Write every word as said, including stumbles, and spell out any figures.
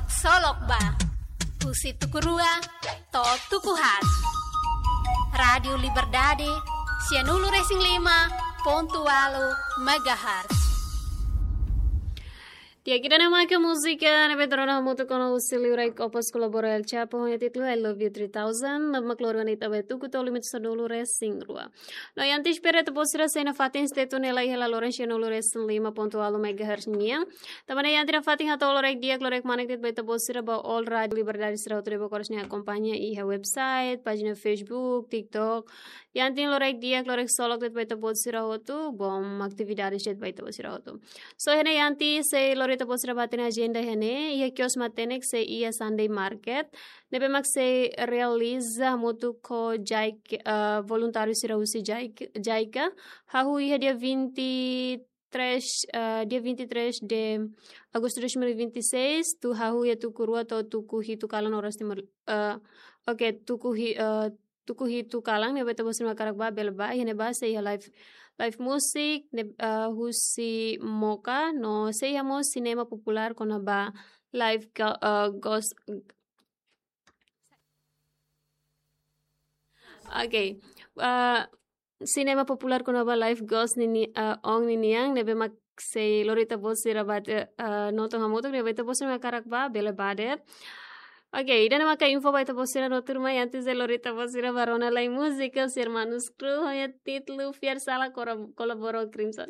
Solok ba, husi tuku rua to'o tuku haat. Rádiu Liberdade, sianulu resin lima pontu ualu megahertz. Di'ak, ida-ne'e maka múzika ne'ebé ita rona hamutuk ona husi liurai Opus kolabora El Chapo ho nia títulu I Love You three thousand, ne'ebé mak lori ona ita ba tuku to'o limitu sanulu resin rua. No, iha ita espera ita-boot sira sei nafatin stay tune hela iha la loren sianulu resin lima pontu ualu megahertz nian. Tanba ne'e iha ita nafatin hato'o loraik di'ak, loraik manek de'it ba ita-boot sira ba all Rádiu Liberdade sira hotu ne'ebé oras ne'e akompaña iha website, pájina Facebook, TikTok. Iha ita loraik di'ak, loraik solok de'it ba ita-boot sira hotu, bom atividades de'it ba ita-boot sira hotu. So, iha ne'e iha ita sei lori ita-boot sira ba hatene ajenda iha ne'e, iha kios matenek sei iha Sunday Market. Ne'ebé mak sei realiza hamutuk ho JICA, eh, voluntáriu sira husi JICA, JICA. Hahú iha dia vinte e três, eh, dia vinte e três de agosto de dois mil e vinte e seis, tuir hahú iha tuku rua to'o tuku hitu kalan oras Timor, eh, oke, tuku hi-, eh, tuku hitu kalan, ne'ebé ita-boot sira mak hakarak ba, bele ba, iha ne'ebá sei iha live, live music, ne'e, eh, husi Moka, no sei iha mós sinema populár kona-ba live ga-, eh, gos-, oke. Eh, sinema populár kona-ba live gos nini-, eh, ong ninian, ne'ebé mak sei lori ita-boot sira ba, eh, eh, nonton hamutuk, ne'ebé ita-boot sira mak hakarak ba, bele ba de'it. Oke, ida-ne'e maka info ba ita-boot sira no tuirmai, antes de lori ita-boot sira ba rona lai múzika husi Hermanos Cruz, ho nia títulu Fiar Sala kora-, kolabora Crimson.